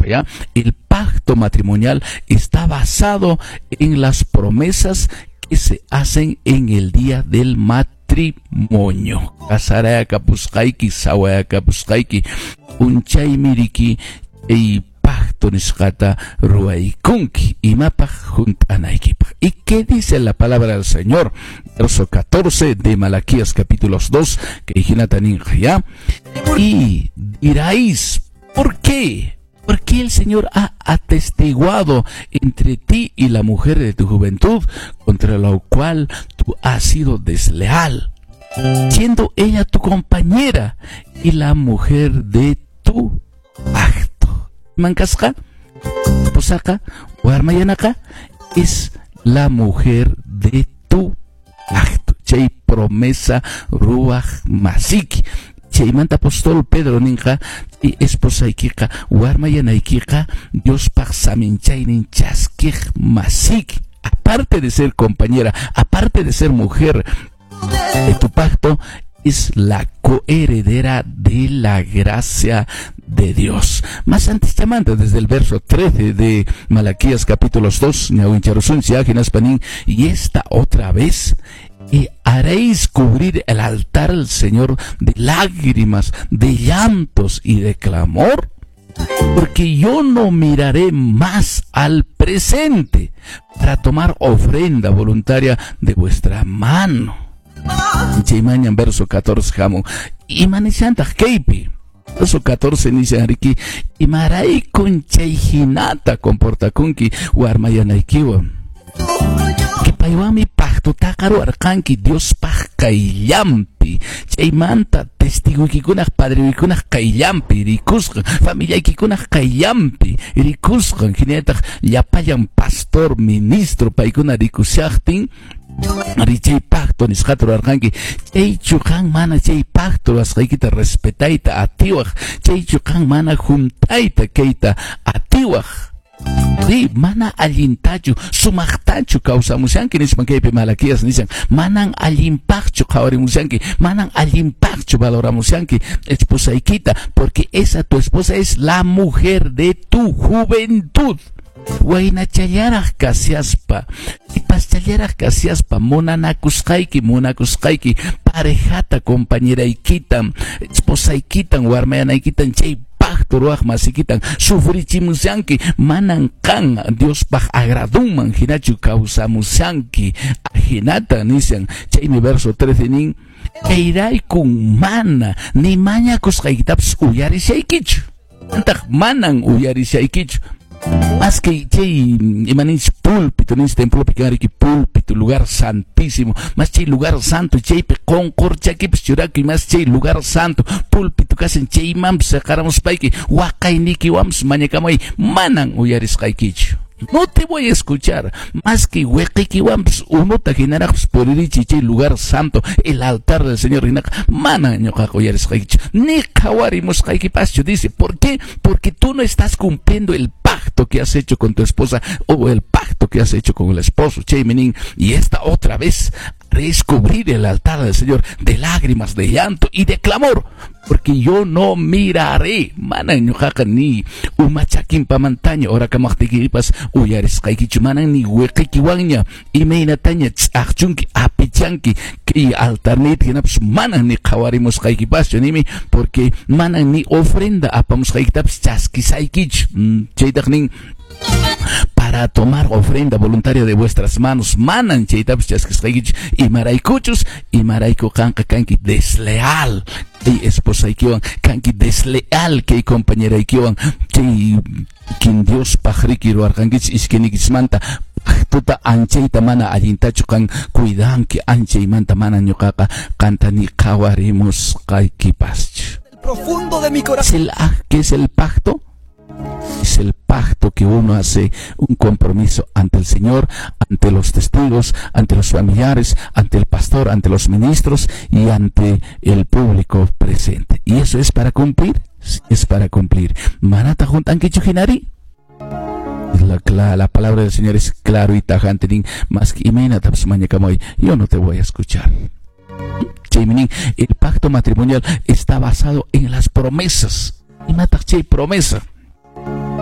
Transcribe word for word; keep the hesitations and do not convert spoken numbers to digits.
¿Ya? El pacto matrimonial está basado en las promesas que se hacen en el día del matrimonio. Kasarayakapusqayki, sawayakapusqayki, p'unchaymi riki chay pacto nisqata ruwaykunki imapaq hunt'anaykipaq. ¿Y qué dice la palabra del Señor? Verso catorce de Malaquías capítulos dos, que hinata nin, ¿ya? Y diréis, ¿por qué? ¿Por qué el Señor ha atestiguado entre ti y la mujer de tu juventud, contra lo cual tú has sido desleal, siendo ella tu compañera y la mujer de tu pacto? Mankasqa, esposaqa, warmayanaqa, es la mujer de tu pacto. Chay promesa ruwaq masiki. Chaymanta apóstol Pedro ninqa, chay esposaykiqa, warmayanaykiqa, Diospaq saminchaynin chaskiq masiki. Aparte de ser compañera, aparte de ser mujer de tu pacto, es la coheredera de la gracia de Dios. Más antes llamando desde el verso trece de Malaquías capítulos dos, y esta otra vez, y haréis cubrir el altar al Señor de lágrimas, de llantos y de clamor, porque yo no miraré más al presente para tomar ofrenda voluntaria de vuestra mano. Chaymañan verso catorce hamun. Imanishantaq kaypi. Verso catorce nishan riki, imaraykun chay hinata comportakunki warmayanaykiwan. Que paywanmi pactotaqa ruwarqanki Diospaq qayllanpi. Chaymanta testiguykikunaq padreykikunaq qayllanpi rikusqan, familiaykikunaq qayllanpi rikusqan, hinallataq llapallan pastor, ministro paykuna rikushaqtin, chay pacto nisqata ruwarqanki. Chaychu qan mana chay pacto ruwasqaykita respetayta atiwaq, chaychu qan mana hunt'ayta kayta atiwaq. Sí, mana allintachu, sumaqtachu kawsamushanki nispan kaypi Malaquías nishan, manan allinpaqchu qhawarimushanki, manan allinpaqchu valoramushanki esposaykita, porque esa tu esposa es la mujer de tu juventud. Waynachallaraq kashaspa, sipaschallaraq kashaspa, munanakusqayki, munakusqayki, parejata, compañeraykitan, esposaykitan, warmayanaykitan, chay pacto ruwaq masikitan sufrichimushanki, manan qan Diospaq agradunman hinachu kawsamushanki. Ajinata nishan, chaymi verso trece nin, Chayraykun mana ni mañakusqaykitapas uyarishaykichu. Antaq manan uyarishaykichu. Más que chay imaninchis púlpito, ninchis templopi kanriki púlpito, lugar santísimo, más chay lugar santo, chaypi qunqurchakipis churakuy, más chay lugar santo, púlpito kashan chaymanpis seqaramuspayki, waqaynikiwanpis mañakamuy, manan uyarisqaykichu. No te voy a escuchar, más que wiqiykiwanpis unuta hinaraqpis puririchiy chay lugar santo, el altar del Señor, hinaqa manan ñuqaqa uyarisqaykichu, ni qhawarimusqaykipaschu, dice. ¿Por qué? Porque tú no estás cumpliendo el pacto que has hecho con tu esposa o el pacto que has hecho con el esposo. Chaymi nin, y esta otra vez descubrir el altar del Señor de lágrimas, de llanto y de clamor, porque yo no miraré, manan ñuqaqa ni umachakinpamantaña orakamaqtiykipas uyarisqaykichu, manan ni wiqiykiwanña imaynataña ch'aqchunki apichanki kay altarniyta hinapas manan ni qhawarimusqaykipaschu, nimi, porque manan ni ofrenda apamusqaykitapas chaskisaykichu. Chaytaq nin, para tomar ofrenda voluntaria de vuestras manos, manan chaytapas chaskisqaykichu, imaraykuchus, imarayku qanqa kanki desleal kay esposaykiwan, kanki desleal kay compañeraykiwan, chay kin Diospaq riki ruwarqankichis iskayniykichismanta pactota anchayta mana allintachu qan cuidanki, anchaymanta mana ñuqaqa qanta ni qhawarimusqaykipaschu. Profundo de mi corazón. ¿Es el, qué es el pacto? Es el pacto que uno hace un compromiso ante el Señor, ante los testigos, ante los familiares, ante el pastor, ante los ministros y ante el público presente. ¿Y eso es para cumplir? Sí, es para cumplir. Manata juntankichu hinari. La, la, la palabra del Señor es claro y tajante, nin, más que imaynatapas mañakamuy, yo no te voy a escuchar. Chaymi nin, el pacto matrimonial está basado en las promesas. Imataq chay promesa.